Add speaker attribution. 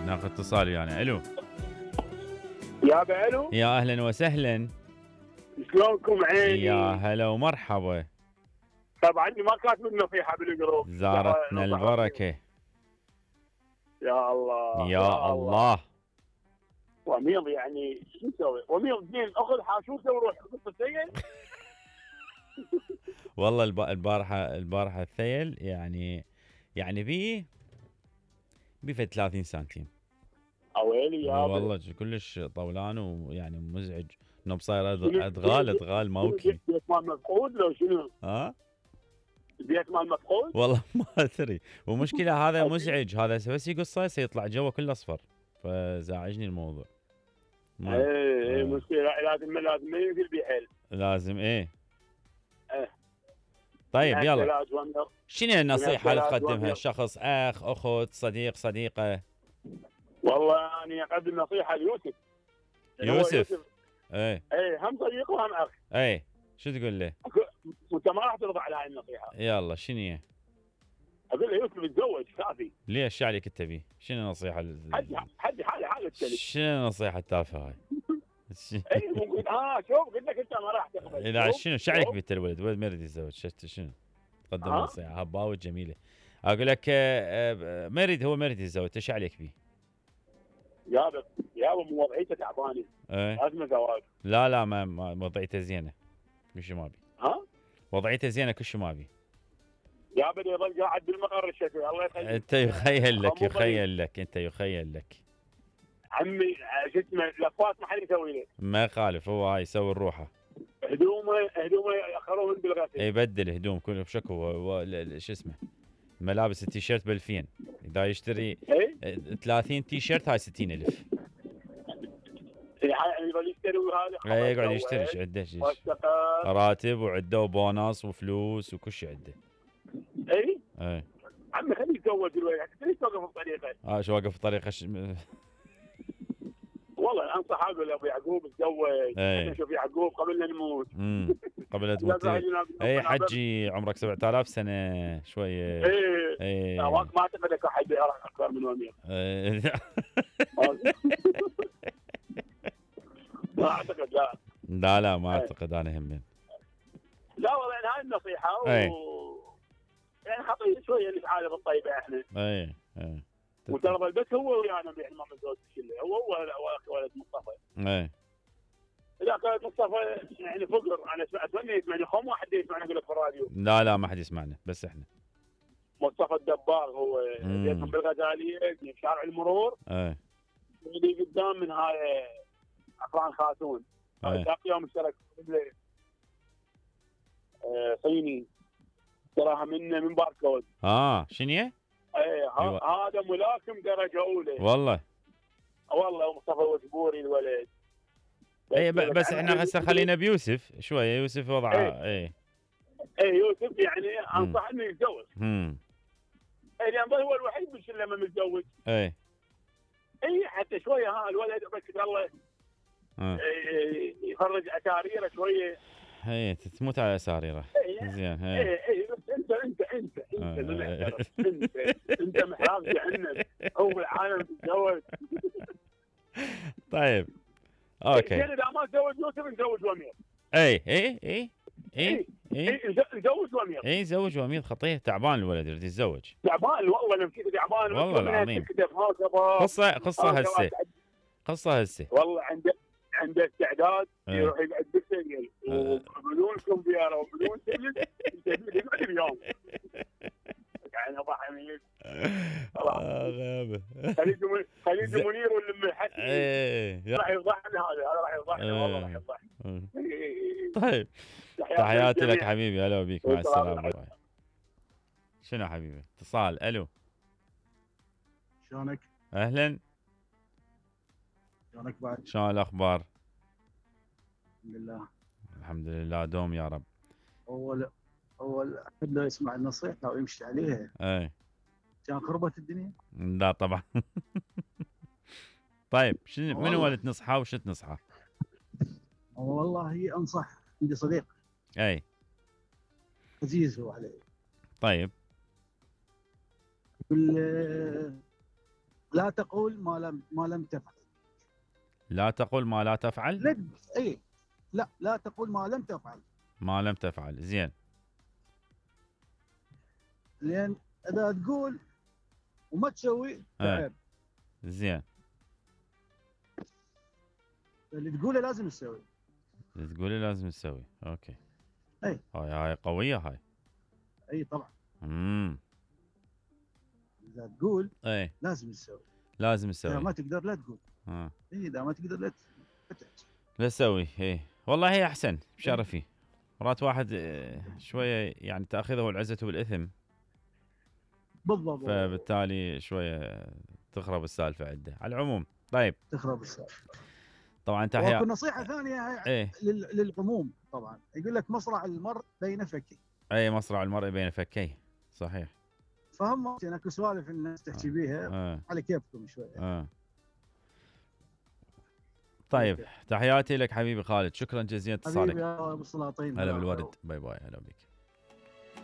Speaker 1: ناخذ اتصال يعني. الو
Speaker 2: يا الو،
Speaker 1: يا اهلا وسهلا.
Speaker 2: شلونكم عيني؟
Speaker 1: يا هلا ومرحبا.
Speaker 2: طبعا ما كاتب النصيحه بالجروب.
Speaker 1: زارتنا البركه.
Speaker 2: يا الله
Speaker 1: يا الله.
Speaker 2: وميض يعني شو نسوي؟ وميض زين اخذ حاشوته وروح قص السيل.
Speaker 1: والله البارحه الثيل يعني بي 30 سنتيم.
Speaker 2: اويلي يا
Speaker 1: والله كلش طولان ويعني مزعج. انه بصير ادغال موكي.
Speaker 2: بيت مال مفقود لو شنو؟ بيت مال مفقود؟
Speaker 1: والله ما ادري. ومشكله هذا مزعج، هذا بس يقصه سيطلع جوا كله اصفر، فزعجني الموضوع.
Speaker 2: ايه مشكله، لازم ما ينزل بحيل.
Speaker 1: لازم ايه. طيب يلا، شنو النصيحه اللي تقدمها الشخص، اخ اخت صديق صديقه؟
Speaker 2: والله اني اقدم نصيحه ليوسف.
Speaker 1: يوسف ايه
Speaker 2: هم صديق وهم اخ.
Speaker 1: ايه شو تقول له؟
Speaker 2: وانت ما راح ترضى على هاي النصيحه.
Speaker 1: يلا شنو هي؟
Speaker 2: اقول له يوسف اتزوج كافي.
Speaker 1: ليش عليك انت بيه؟ شنو النصيحه
Speaker 2: حد حاله التلف.
Speaker 1: شنو النصيحه التافهه هاي؟
Speaker 2: اي ممكن شوف قلت لك انت ما راح تقبل.
Speaker 1: لا شنو شعلك بنت الولد ما يريد يتزوج، شنو تقدم نصيحه هباوه جميله. اقول لك هو ما يريد يتزوج، ايش عليك بيه؟
Speaker 2: يابا مو وضعيته تعبانه. لازم زواج.
Speaker 1: لا ما وضعيته زينه، كل شيء ما بي. وضعيته زينه كل شيء ما بي.
Speaker 2: يابا يظل قاعد بالمقر الشكوي. الله يخليك.
Speaker 1: انت يخيل لك
Speaker 2: عمي شو اسمه لفات ما حد يسوي له.
Speaker 1: ما يخالف، هو هاي يسوي الروحه.
Speaker 2: هدومه ياخرون بالغسيل.
Speaker 1: يبدل هدوم كله بشكو. شو اسمه ملابس التيشيرت ب2000، اذا يشتري 30 تيشيرت هاي 60,000.
Speaker 2: يظل يشتري هذا.
Speaker 1: يقعد يشتري عده راتب وعده وبونص وفلوس وكل شيء عده.
Speaker 2: اي عمي خليه يتزوج الولد، ليش توقف بطريقه؟
Speaker 1: شو واقف بطريقه
Speaker 2: والله انصح اقول ابو يعقوب اتزوج. نشوف يعقوب قبل لا نموت.
Speaker 1: قبل لا تموت. اي حجي عمرك 7000 سنه شويه.
Speaker 2: اي ما اعتقد اكو حد يعرف اكثر من ومير. ما اعتقد.
Speaker 1: لا ما اعتقد انا هم.
Speaker 2: لا والله يعني هاي النصيحه يعني خطير شويه نتعالج الطيبه احنا. وترى بس هو ويانا يعني ما متزوج كله. هو ولد مصطفى. اذا كانت مصطفى يعني فقر، انا اتمنى يسمعني. خم واحد يسمعنا يقول لك في الراديو.
Speaker 1: لا ما حد يسمعنا، بس احنا.
Speaker 2: مصطفى الدباغ هو بيتهم بالغزاليه في شارع المرور. اللي قدام من هاي عفران خاتون. ذاك يوم اشترك صيني تراها من باركود.
Speaker 1: شنو هي؟
Speaker 2: هذا ملاكم درجه اولى.
Speaker 1: والله
Speaker 2: مصطفى وجبوري الولد.
Speaker 1: بس احنا هسه خلينا بيوسف شويه. يوسف وضعه
Speaker 2: يوسف يعني انصح انه يتزوج. لان هو الوحيد بالشله ما متزوج. حتى شويه الولد بس الله يخرج اساريره شويه.
Speaker 1: تموت على اساريره. زين. انت
Speaker 2: محراب جهنم. هو العالم تتزوج.
Speaker 1: طيب اوكي.
Speaker 2: اذا ما تزوج يوسف نزوج وميض. نزوج وميض.
Speaker 1: زوج وميض خطيه. تعبان الولد يريد يتزوج.
Speaker 2: تعبان والله نمشي تعبان
Speaker 1: والله العظيم. قصه هسه
Speaker 2: والله عنده استعداد يروح يقعد بالسجن وبدون كمبيوتر وبدون سجن يقعد اليوم. يعني ابو حميد
Speaker 1: غابه.
Speaker 2: خليج منير واللي حكي. راح يفضحنا هذا راح يفضحنا والله راح يفضحنا.
Speaker 1: طيب تحياتي لك حبيبي. هلا بيك. مع السلامه. شنو حبيبي؟ اتصال. الو
Speaker 3: شلونك؟
Speaker 1: اهلا.
Speaker 3: شلونك بعد؟
Speaker 1: شلون الاخبار؟
Speaker 3: الحمد
Speaker 1: لله دوم يا رب.
Speaker 3: اول احد لو يسمع النصيحه ويمشي عليها كان خربت الدنيا.
Speaker 1: لا طبعا. طيب من هو اللي تنصحه وش تنصحه؟
Speaker 3: والله انصح. عندي صديق عزيز هو علي.
Speaker 1: طيب
Speaker 3: لا لا تقول ما لم تفعل.
Speaker 1: لا تقول ما لا تفعل.
Speaker 3: اي لا تقول ما لم تفعل.
Speaker 1: ما لم تفعل. زين.
Speaker 3: لان اذا تقول وما تسوي تعب.
Speaker 1: زين.
Speaker 3: اللي تقوله لازم تسوي.
Speaker 1: اللي تقوله لازم تسوي. اوكي.
Speaker 3: اي
Speaker 1: هاي قويه هاي.
Speaker 3: اي طبعا. اذا تقول
Speaker 1: اي
Speaker 3: لازم تسوي.
Speaker 1: لازم تسوي.
Speaker 3: اذا ما تقدر لا تقول. اي اذا ما تقدر لا
Speaker 1: تسوي. اي والله هي احسن بشرفي. مرات واحد شويه يعني تاخذه العزه بالاثم.
Speaker 3: بالضبط.
Speaker 1: فبالتالي شويه تخرب السالفه عنده. على العموم طيب.
Speaker 3: تخرب السالفه.
Speaker 1: طبعا تحيا.
Speaker 3: وأكو نصيحه ثانيه للعموم طبعا، يقول لك مصرع المرء بين فكيه.
Speaker 1: اي مصرع المرء بين فكيه. صحيح.
Speaker 3: فهم اكو سوالف الناس تحكي بيها على كيفكم شويه.
Speaker 1: طيب تحياتي لك حبيبي خالد، شكرا جزيلا اتصالك.
Speaker 3: حبيبي يا ابو السلاطين.
Speaker 1: هلا بالورد. باي باي. هلا بك.